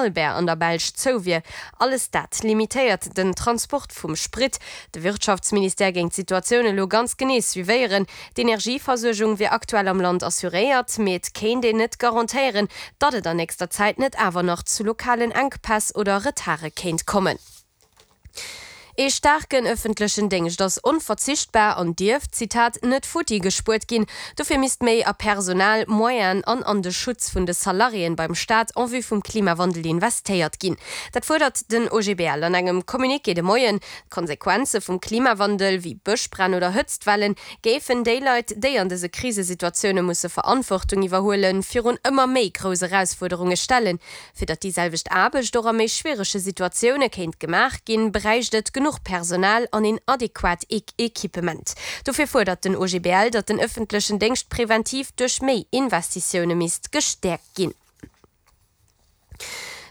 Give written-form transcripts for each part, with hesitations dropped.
Albert an der Belsch zou wier. Alles dat limitéiert den Transport vum Sprit. De Wirtschaftsministère géing d'Situatioun elo ganz genee suivéieren. D'Energieversuergung wier aktuell am Land assuréiert, mee et kéint een net garantéieren, datt et an nächster Zäit net awer nach zu lokalen Enkpäss oder Retarde kéint kommen. Ee staarken ëffentlechen Déngscht ass onverzichtbar an dierf, Zitat, net futti gespuert ginn. Dofir misst méi a Personal, Moyenen an an de Schutz vun de Salariéen beim Staat en vue vum Klimawandel investéiert ginn. Dat fuerdert den OGBL an engem Communiqué de Moien. D'Konsequenze vum Klimawandel, wéi Bëschbränn oder Hëtztwellen, géifen déi Leit, déi an dëse Krisesituatioune musse Verantwortung iwwerhuelen, virun ëmmer méi grouss Erausfuerderunge stellen. Fir datt déi selwecht Aarbecht och a méi schwierege Situatioune kéint gemaach ginn, bräicht et genuch Personal an een adequat Equipement. Dofir fuerdert den OGBL, datt den ëffentlechen Déngscht preventiv duerch méi Investitioune misst gestäerkt ginn.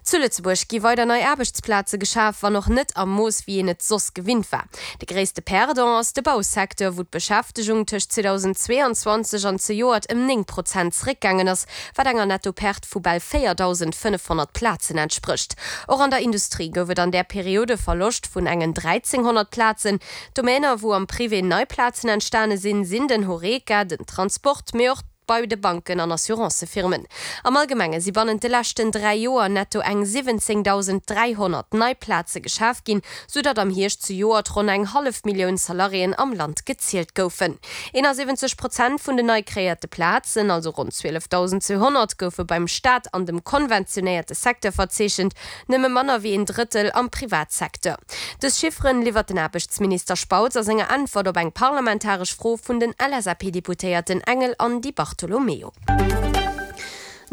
Zu Lëtzebuerg gi weider nei Aarbechtsplaze geschaf, wann och net am Mooss, wéi een et soss gewinnt war. De gréisste Perdant ass de Bausecteur, wou d'Beschäftegung tëscht 2022 an zejoert ëm 9 Prozent zeréckgaangen ass, wat enger Netto-Perte vu bal 4.500 Plazen entsprécht. Och an der Industrie gouf et an där Period e Verloscht vun engen 1.300 Plazen. Domäner, wou am Privé nei Plazen entstane sinn, sinn den Horeca, den Transport, mee och bei de Banken an Assurancëfirmen. Am Allgemenge si bannent de leschten 3 Joer netto eng 17.300 nei Plaze geschaf ginn, sou datt am Hierscht zejoert ronn eng hallef Millioun Salariéen am Land gezielt goufen. 71 Prozent vun den nei kreéierte Plazen, also ronn 12.200, goufe beim Staat an dem konventionéierte Secteur verzeechent, nëmme manner wéi een Drëttel am Privatsecteur. Dës Chifferen liwwert den Aarbechtsminister Spautz a senger Äntwert op eng parlamentaresch Fro vun den LSAP-Deputéierten Engel an Di Bartolomeo.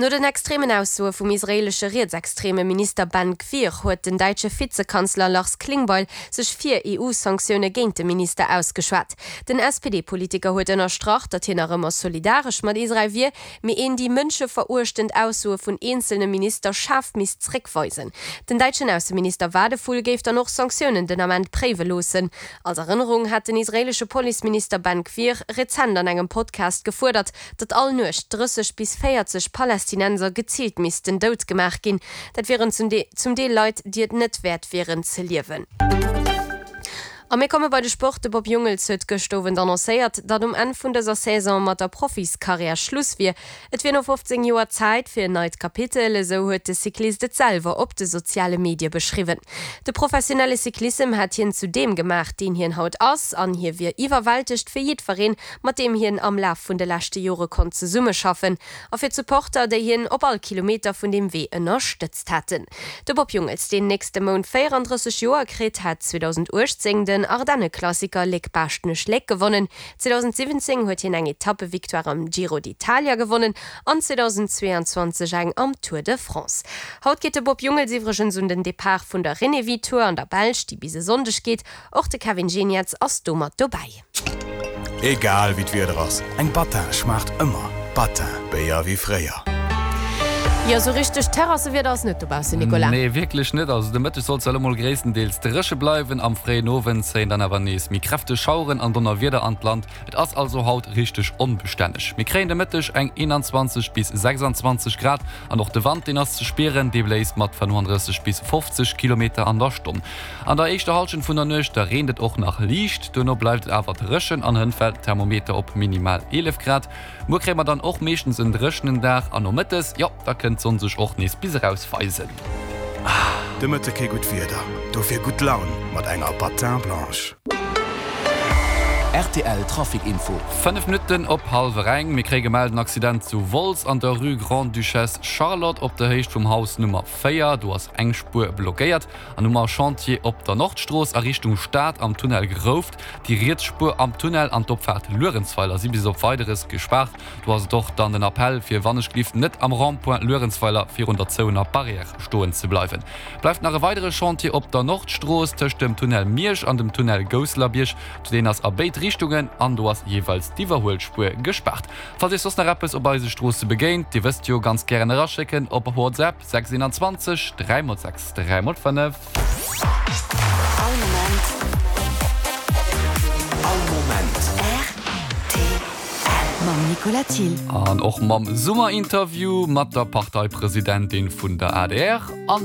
No den extremen Aussoe vum israeelesche rietsextreme Minister Ben Gvir huet den däitsche Vizekanzler Lars Klingbeil sech fir EU-Sanktioune géint de Minister ausgeschwat. Den SPD-Politiker huet ënnerstrach, datt hien nach ëmmer solidaresch mat Israel wier, mee een déi mënscheveruechtend Aussoe vun eenzelne Minister schaarf misst zréckweisen. Den däitschen Ausseminister Wadephul géif dann och Sanktiounen den Ament préiwe loossen. Als Erënnerung hat den israeelesche Policeminister Ben Gvir rezent an engem Podcast gefuerdert, datt all Nuecht 30 bis 40 Palästinenser geziilt missten dout gemaach ginn. Dat wieren zum Deel Leit, déi et net wäert wieren ze liewen. A mir komme bei de Sport, De Bob Jungels huet gëscht Owend annoncéiert, datt um Enn vun dëser Saison mat der Profiskarriär Schluss wier. Et wier no 15 Joer Zäit fir en neit Kapitel, esou huet de Cyclist et selwer op de soziale Medie beschriwwen. De professionelle Cyclissem hätt hien zu deem gemaach, deen hien haut ass, an hie wier iwwerwältegt fir jiddwereen, mat deem hien am Laf vun de leschte Jore konnt zesummeschaffen, a fir d'Supporter, déi hien op all Kilometer vun deem Wee ënnerstëtzt haten. De Bob Jungels, deen nächste Mount 34 Joer kritt, hat 2018 den Ardenneklassiker Léck-Baaschtnech-Léck gewonnen. 2017 huet hien eng Etappevictoire am Giro d'Italia gewonnen an 2022 eng am Tour de France. Haut geet de Bob Jungels iwwregens un den Depart vun der Renewi Tour an der Belsch, déi bis e Sonndeg geet. Och de Kevin Geniets ass do mat dobäi. Egal wéi d'Wieder ass, eng Battin schmaacht ëmmer. Battin, Béier wéi fréier. Jo, sou richteg Terrassewieder ass net dobaussen, Nicolas. Nee, wierklech net. Also de Mëtteg sollt zwar elo mol gréisstendeels dréche bleiwen, am fréien Owend zéien dann awer nees méi kräfteg Schaueren an Donnerwieder an d'Land. Et ass also haut richteg onbestänneg. Mir kréien de Mëtteg eng 21 bis 26 Grad an och de Wand, deen ass ze spieren, dee bléist mat 35 bis 50 Kilometer an der Stonn. An der éischter Hallschent vun der Nuecht, da reent et och nach liicht, duerno bleift et awer dréchen an hënt fält den Thermometer op minimal 11 Grad. Muer kréie mer dann och meeschtens en dréchenen Dag an nomëttes, jo, da kënnt d'Sonn sech och nees bis eraus weisen. De Mëtte kee gutt Wieder, dofir gutt Laun mat enger Patin Blanche. Rtl Trafic Info. 5 Minutten op hallwer eng. Mir kréie gemellt en Accident zu Wolz an der Rue Grande-Duchesse Charlotte op der Héicht vum Haus Nummer 4. Do ass eng Spuer blockéiert. An um Chantier op der Nordstrooss a Richtung Stad am Tunnel Grouft. Déi riets Spuer am Tunnel an d'Opfaart Luerenzweiler si bis op Weideres gespaart. Do ass et och dann den Appell fir wannechgelift net am Rond-point Luerenzweiler virun der zouener Barrière stoen ze bleiwen. Bleift nach e weidere Chantier op der Nordstrooss tëscht dem Tunnel Miersch an dem Tunnel Gousselerbierg. Deen ass a béid Richtungen an do ass jeeweils d'Iwwerhuelspuer gespaart. Falls Iech soss nach eppes op eise Stroosse begéint, Dir wësst jo, ganz gären eraschécken op WhatsApp 6 21 3 x 6 3 x 5. All Moment. All Moment. Rtl. Mam Nicolas Thill. An och mam Summerinterview mat der Parteipresidentin vun der adr an.